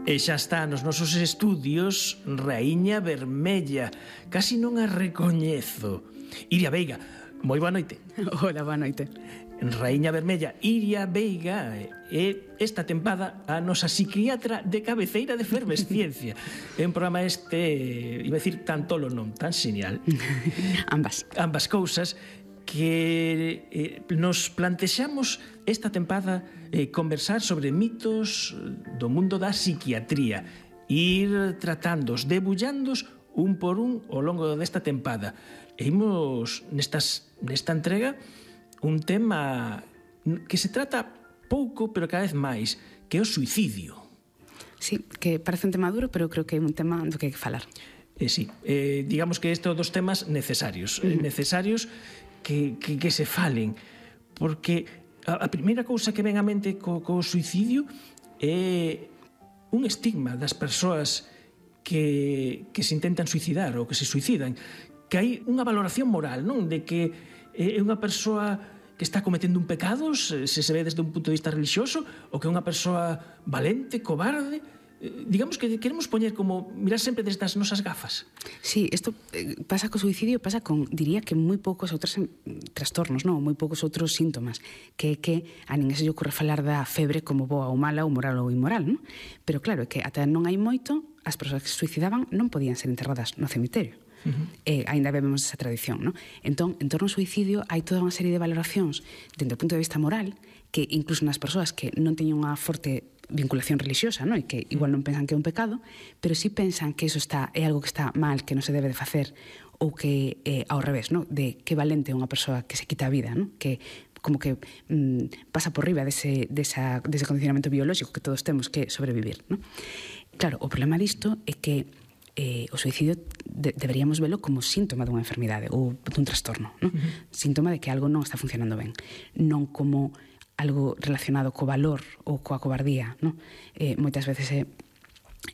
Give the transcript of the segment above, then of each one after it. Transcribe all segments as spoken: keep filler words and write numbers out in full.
E xa está nos nosos estudios Raíña Vermella. Casi non a recoñezo. Iria Veiga, moi boa noite. Hola, boa noite. Raíña Vermella, Iria Veiga é esta tempada a nosa psiquiatra de cabeceira de Fervesciencia. É un programa este, iba a dicir tan tolo non, tan xenial. Ambas. Ambas cousas que eh, nos plantexamos esta tempada eh, conversar sobre mitos do mundo da psiquiatría, ir tratándos, debullandos un por un ao longo desta tempada. E imos nestas, nesta entrega un tema que se trata pouco, pero cada vez máis, que é o suicidio. Sí, que parece un tema duro, pero creo que é un tema do que hai que falar. Eh, sí, eh, digamos que este é dos temas necesarios, uh -huh. necesarios que, que, que se falen, porque a, a primeira cousa que ven á mente co, co suicidio é un estigma das persoas que, que se intentan suicidar ou que se suicidan, que hai unha valoración moral, non? De que é unha persoa que está cometendo un pecado, se se ve desde un punto de vista religioso, ou que é unha persoa valente, cobarde. Digamos que queremos poñer como mirar sempre desde as nosas gafas. Sí, isto pasa co suicidio, pasa con, diría que moi poucos outros trastornos, non? Moi poucos outros síntomas, que é que a ninguén se lle ocorre falar da febre como boa ou mala, ou moral ou inmoral, non? Pero claro, é que ata non hai moito, as persoas que se suicidaban non podían ser enterradas no cemiterio. Uh-huh. E ainda vemos esa tradición, non? Entón, en torno ao suicidio hai toda unha serie de valoracións dentro do punto de vista moral que incluso nas persoas que non teñen unha forte vinculación religiosa, non? E que igual non pensan que é un pecado, pero sí pensan que eso está é algo que está mal, que non se debe de facer, ou que é ao revés, non? De que valente é unha persoa que se quita a vida, non? Que como que mm, pasa por riba dese, desa, dese condicionamento biolóxico que todos temos que sobrevivir, non? Claro, o problema disto é que eh, o suicidio de, deberíamos velo como síntoma dunha enfermidade ou dun trastorno, non? Uh-huh. Síntoma de que algo non está funcionando ben, non como algo relacionado co valor ou coa cobardía, non? Eh, moitas veces é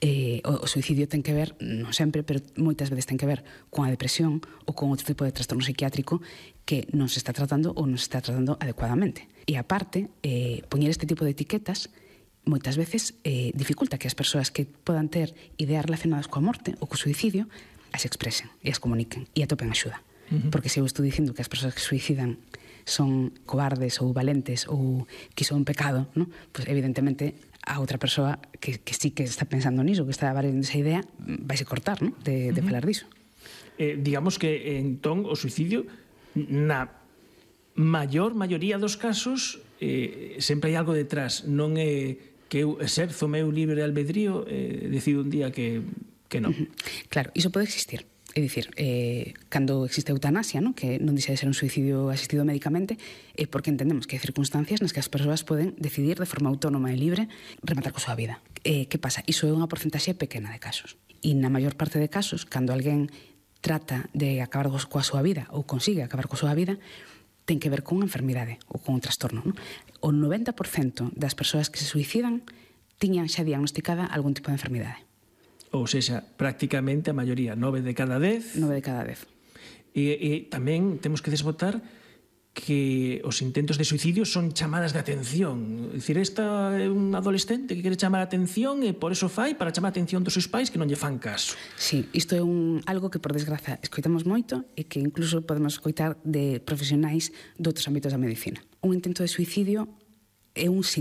eh, o, o suicidio ten que ver, non sempre, pero moitas veces ten que ver con a depresión ou con outro tipo de trastorno psiquiátrico que non se está tratando ou non se está tratando adecuadamente. E aparte, eh, poñer este tipo de etiquetas moitas veces eh, dificulta que as persoas que podan ter ideas relacionadas coa morte ou co suicidio as expresen e as comuniquen e atopen axuda. Uh-huh. Porque se eu estou dicindo que as persoas que suicidan son cobardes ou valentes ou que son un pecado, ¿no? Pues evidentemente a outra persoa que, que sí que está pensando niso, que está valendo esa idea, vaise cortar, ¿no? De, de uh-huh. falar diso. Eh, digamos que entón o suicidio na maior maioría dos casos eh, sempre hai algo detrás, non é que eu exerzo o meu libre albedrío e eh, decido un día que, que non. Uh-huh. Claro, iso pode existir. É dicir, eh, cando existe a eutanasia, ¿no? Que non deixa de ser un suicidio asistido médicamente, é porque entendemos que hai circunstancias nas que as persoas poden decidir de forma autónoma e libre rematar coa súa vida. Eh, que pasa? Iso é unha porcentaxe pequena de casos. E na maior parte de casos, cando alguén trata de acabar coa súa vida ou consigue acabar coa súa vida, ten que ver con unha enfermidade ou con un trastorno, ¿no? O noventa por cento das persoas que se suicidan tiñan xa diagnosticada algún tipo de enfermidade. Ou seja, prácticamente a maioría, nove de cada dez. Nove de cada dez. E, e tamén temos que desbotar que os intentos de suicidio son chamadas de atención. É dicir, esta é un adolescente que quere chamar a atención e por eso fai para chamar a atención dos seus pais que non lle fan caso. Sí, isto é un, algo que por desgraza escoitamos moito e que incluso podemos escoitar de profesionais de outros ámbitos da medicina. Un intento de suicidio é un síntoma